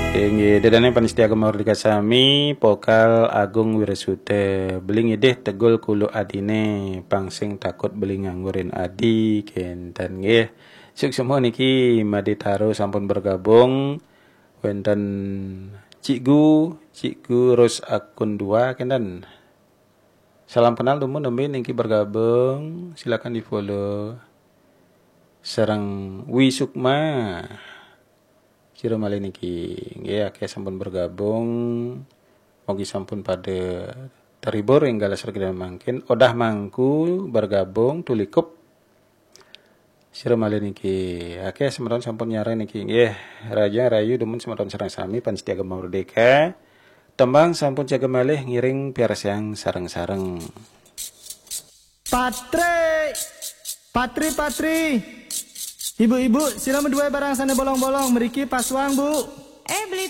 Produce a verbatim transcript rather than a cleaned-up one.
Inggih, dedane panitia Gema Merdeka sami, pokal Agung Wirasuta. Beli ngidih tegul kulu adine, pang sing takut beli nganggurin adi, kenten nggih. Suksma niki Made Taro sampun bergabung. Wenten Cikgu, Cikgu Ros akun dua kenten. Salam kenal dumun nembe niki bergabung, silakan di-follow. Sareng Wi Sukma. Sira malih niki nggih akeh sampun bergabung. Mugi sampun pada terhibur ing galah sregep mangkin. Odah Mangku bergabung, Tulikup. Sira malih niki akeh semeton sampun nyareng niki nggih. Raja rayu dumun semeton sareng sami panitia Gema Merdeka. Tembang sampun jaga malih ngiring piarsayang sareng-sareng. Patri, patri, patri. Ibu-ibu, sila maduwé barang sané bolong-bolong, mriki pasuang, Bu. Eh, beli